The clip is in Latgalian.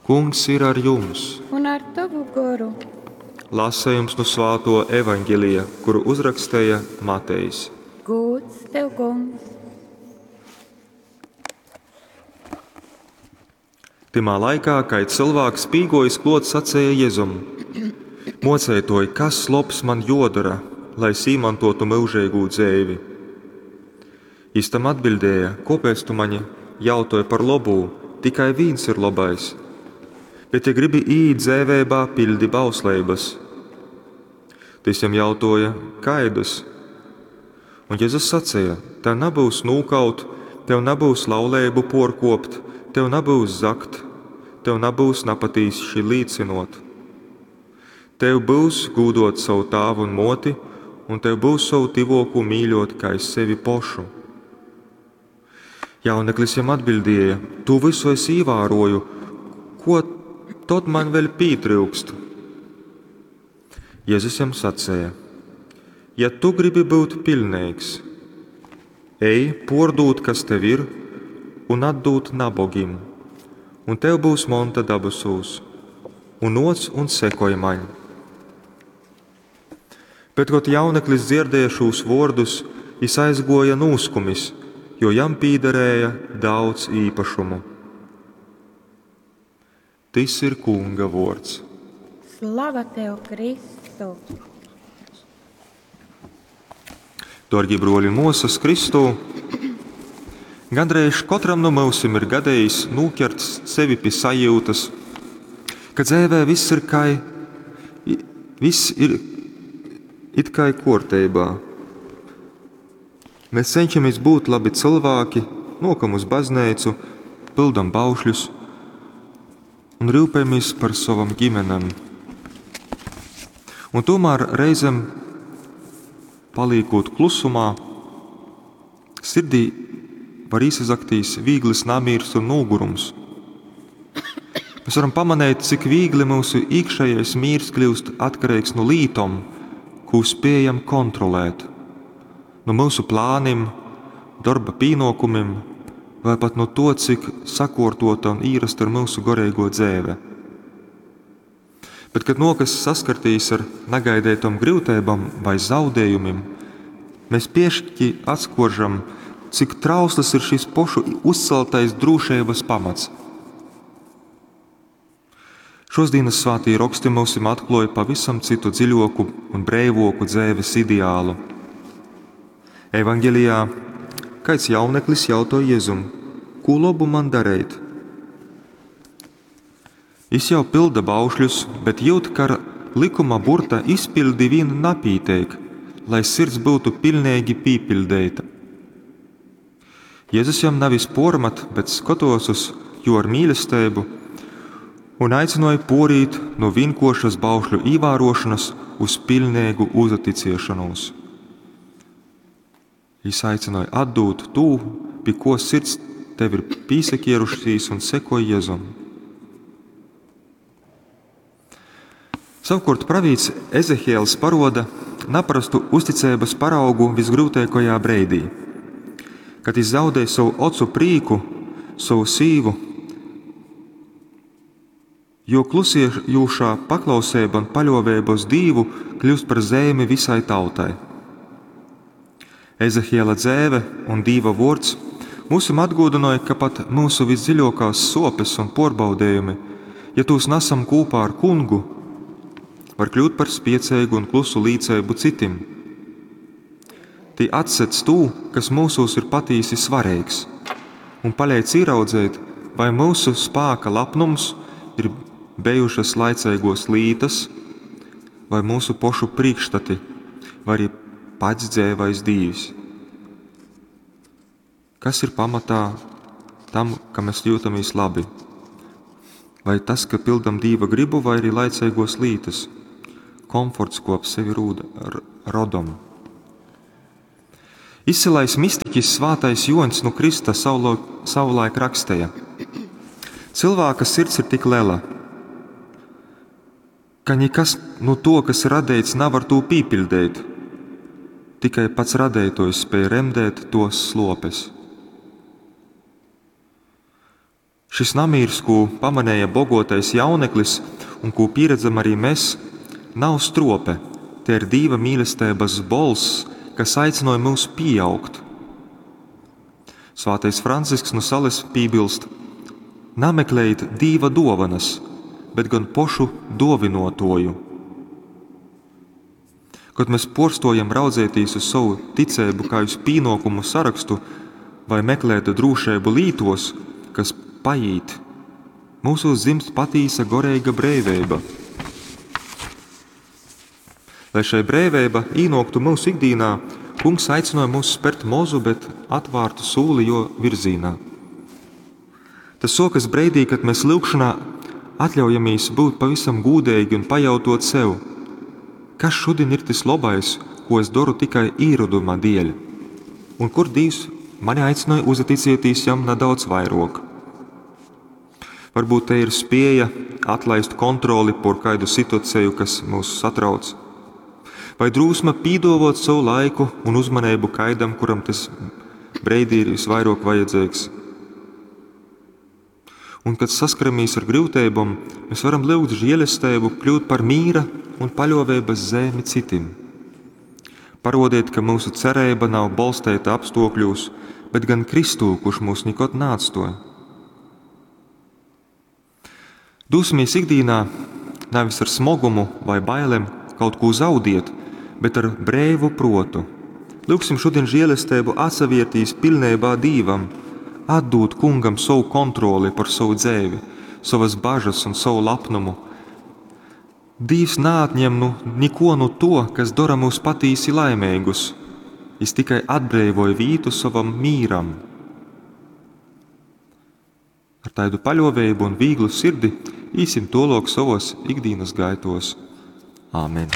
Kungs ir ar jums! Un ar tovu goru. Lasējums nu svāto evaņģelija, kuru uzrakstēja Matejs. Gūds tev, kungs! Tymā laikā, kad cilvēks pīgojis klot, sacēja Jezum: Mocētoj, kas lobs man jodara, lai es īmantotu myužeigū dzeivi? Jis tam atbildēja: Kāpēc tu mani jautoj par lobū? Tikai vīns ir labais. Bet, ja gribi iet dzēvēbā, pildi bausleibas. Tys jam jautoja, kaidas? Un Jēzus sacīja: Tev nebūs nūkaut, tev nebūs lauleibu porkopt, tev nebūs zagt, tev nebūs napatīši līcinot. Tev būs gūdot savu tāvu un moti, un tev būs savu tivoku mīļot kā es sevi pošu. Jauneklis jam atbildēja: Tu visu es īvēroju, ko tod man vēļ pītryukst? Jēzus jam sacēja: Ja tu gribi būt pilnīgs, ej, pordūt, kas tev ir, un atdūt nabogim, un tev būs monta dabasūs, un noc un sekoj maņ. Bet, kad jauneklis dzirdēja šos vārdus, jis aizgoja nūskumis, jo jam pīderēja daudz īpašumu. Tys ir Kunga vārds. Slava tev, Kristu! Dārgie broļi un māsas Kristū, gandrīz katram no mūsim ir gadījis nūķert sevi pie sajūtas, ka dzēvē viss ir kai, viss ir it kā kārtībā. Mēs cenšamies būt labi cilvēki, nokam uz baznīcu, pildam baušļus un rūpējamies par savam ģimenēm. Un tomēr reizēm, paliekot klusumā, sirdī var īsazaktīs viegls namīrs un nogurums. Mēs varam pamanīt, cik viegli mūsu iekšējais mīrs kļūst atkarīgs no lītom, ko spējam kontrolēt, no mūsu plāniem, darba pienākumiem, vai pat no to, cik sakortota un īrasta ir mūsu garīgo dzēve. Bet, kad nokas saskartīs ar negaidētom grūtībām vai zaudējumiem, mēs piešķi atskoržam, cik trausls ir šis pošu uzceltais drošības pamats. Šos dienas svātī raksti mums atklāja pavisam citu dziļoku un breivoku dzēves ideālu. Evangelijā kāds jauneklis jautāja Jēzum, ko labu man darīt? Jis jau pilda baušļus, bet jūt, ka ar likuma burta izpildi vien napīteik, lai sirds būtu pilnīgi pīpildēta. Jēzus jam nevis pormat, bet skatos uz jo ar mīlestību un aicināja porīt no vienkošas baušļu īvērošanas uz pilnīgu uzaticēšanos. Jis aicināja atdūt tū, pie ko sirds tev ir pīsakierušīs un sekoja Jēzum. Savukārt pravīts Ezehiels paroda naparastu uzticības paraugu visgrūtākajā breidī, kad viņš zaudēja savu ocu prīku, savu sīvu, jo klusiejušā paklausība un paļovēba uz Dīvu kļūst par zēmi visai tautai. Ezehiela dzēve un Dīva vārds mūsim atgādināja, ka pat mūsu visdziļākās sopes un porbaudējumi, ja tos nesam kopā ar kungu, var kļūt par spiecīgu un klusu līdzēbu citim. Tī atsedz tū, kas mūsos ir patīsi svarīgs, un palīdz ieraudzēt, vai mūsu spāka lapnums ir bijušas laicīgos lītas, vai mūsu pošu priekšstati, vai arī pats dzēvais Dīvs. Kas ir pamatā tam, ka mēs jūtamies labi? Vai tas, ka pildam Dīva gribu, vai arī laicīgos lītas, komforts, ko ap sevi rūda, rodam? Izcilais mistiķis svātais Joņs no Krista savulaik rakstīja: Cilvēka sirds ir tik liela, ka nekas no to, kas ir radīts, nav ar to pīpildīt. Tikai pats radītājs spēj remdēt tos slopes. Šis namīrs, kū pamanēja bogotais jauneklis un kū pieredzam arī mēs, nav strope, te ir Dīva mīlestības bolss, kas aicināja mūs pieaugt. Svātais Francisks no Sales piebilst: Nameklējiet Dīva dovanas, bet gan pošu dovinotoju. Kad mēs porstojam raudzētīs uz savu ticēbu kā uz pīnokumu sarakstu vai meklēt drūšēbu lītos, kas paīt, mūsos dzimst patīsa goreiga breiveiba. Lai šai breiveiba īnoktu mūsu ikdīnā, kungs aicināja mūs spert mozu, bet atvārtu sūli jo virzīnā. Tas sokas breidī, kad mēs lūgšanā atļaujamies būt pavisam gūdīgi un pajautot sev, kas šodien ir tas labais, ko es daru tikai īroduma dēļ, un kur Dievs mani aicināja uzticēties jam nedaudz vairāk. Varbūt te ir spēja atlaist kontroli por kādu situāciju, kas mūs satrauc, vai drūsma pīdovot savu laiku un uzmanību kaidam, kuram tas breidī ir visvairāk vajadzīgs. Un, kad saskaramies ar grūtībām, mēs varam lūgt žēlastību kļūt par mīra un paļovēbas zemi citim. Parodiet, ka mūsu cerība nav bolstēta apstākļos, bet gan Kristū, kurš mūs nekad neatstoja. Dūsimies ikdienā nevis ar smogumu vai bailēm kaut ko zaudiet, bet ar brēvu protu. Lūksim šodien žēlastību atsaviertīs pilnībā Dīvam, atdot kungam savu kontroli par savu dzēvi, savas bažas un savu lapnumu. Dīvs neatņem nu neko no to, kas dara mūs patīsi laimīgus. Jis tikai atbrīvoja vītu savam mīram. Ar tādu paļovību un vieglu sirdi īsim tolok savos ikdienas gaitos. Āmen!